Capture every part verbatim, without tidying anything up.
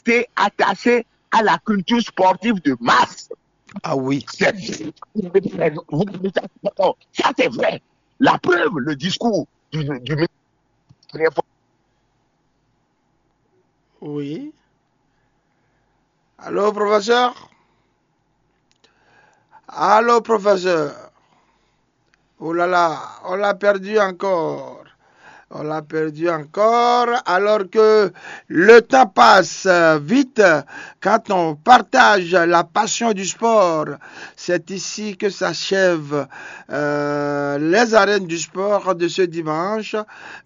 été attaché à la culture sportive de masse. Ah oui. C'est, vous, ça, c'est vrai. La preuve, le discours du, du ministre. Oui. Allô, professeur? Allô, professeur? Oh là là, on l'a perdu encore. On l'a perdu encore, alors que le temps passe vite quand on partage la passion du sport. C'est ici que s'achèvent, euh, les arènes du sport de ce dimanche.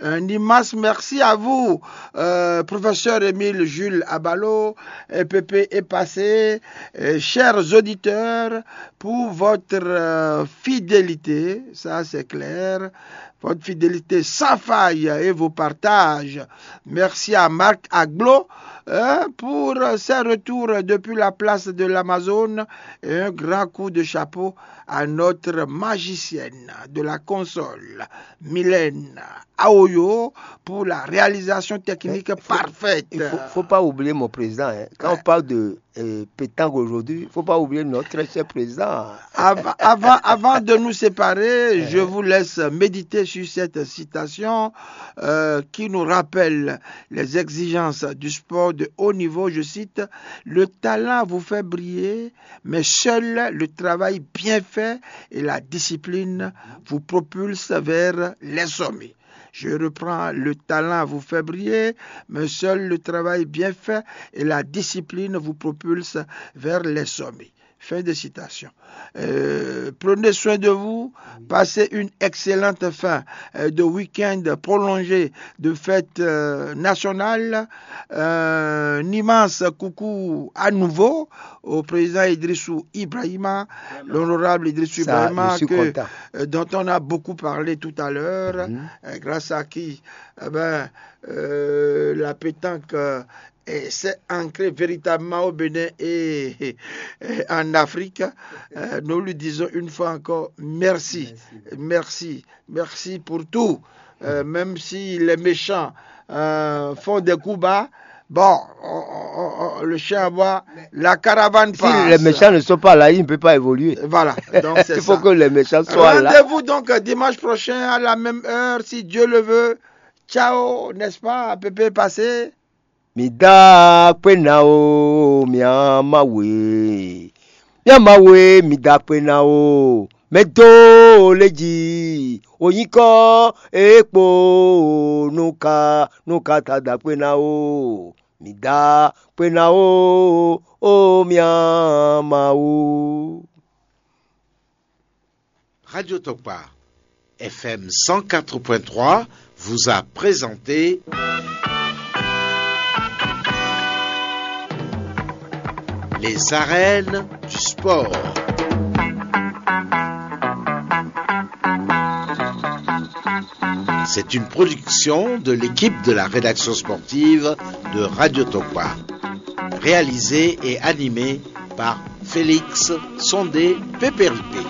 Un immense merci à vous, euh, professeur Émile Jules Abalo, et Pépé est passé, et chers auditeurs, pour votre, euh, fidélité, ça c'est clair, votre fidélité sans faille et vos partages. Merci à Marc Aglo, hein, pour ses retours depuis la place de l'Amazone, et un grand coup de chapeau à notre magicienne de la console, Mylène Aoyo, pour la réalisation technique parfaite. Il faut, faut pas oublier mon président, hein. Quand on parle de euh, pétanque aujourd'hui, il ne faut pas oublier notre très cher président. Avant, avant, avant de nous séparer, je vous laisse méditer sur cette citation, euh, qui nous rappelle les exigences du sport de haut niveau. Je cite: « Le talent vous fait briller, mais seul le travail bien fait et la discipline vous propulsent vers les sommets. » Je reprends: « Le talent vous fait briller, mais seul le travail bien fait et la discipline vous propulsent vers les sommets. » Fin de citation. Euh, prenez soin de vous, passez une excellente fin, euh, de week-end prolongé de fête, euh, nationale. Euh, un immense coucou à nouveau au président Idrissou Ibrahima, l'honorable Idrissou Ibrahima, que, euh, dont on a beaucoup parlé tout à l'heure, euh, grâce à qui, eh ben, euh, la pétanque, euh, est- s'est ancrée véritablement au Bénin et, et en Afrique. Euh, nous lui disons une fois encore merci. Merci, merci pour tout. Euh, même si les méchants, euh, font des coups bas, bon, on- on- on- on- le chien aboie, la caravane passe. Si les méchants ne sont pas là, il ne peut pas évoluer. Voilà, donc c'est ça. Il faut que les méchants soient là. Rendez-vous donc, euh, dimanche prochain à la même heure, si Dieu le veut. Ciao, n'est-ce pas, Pépé Passé? Mi da kpé ná o, mia Mawu e. Mia Mawu e, mi da kpé ná o. Mɛ dó lé jí, o nyíkɔ e kpo nu ka nu ka ta da kpé ná o. Mi da kpé ná o, o mia Mawu. Radio Tokpa, F M cent quatre point trois, vous a présenté les arènes du sport. C'est une production de l'équipe de la rédaction sportive de Radio Tokpa, réalisée et animée par Félix Sondé Pépéripé.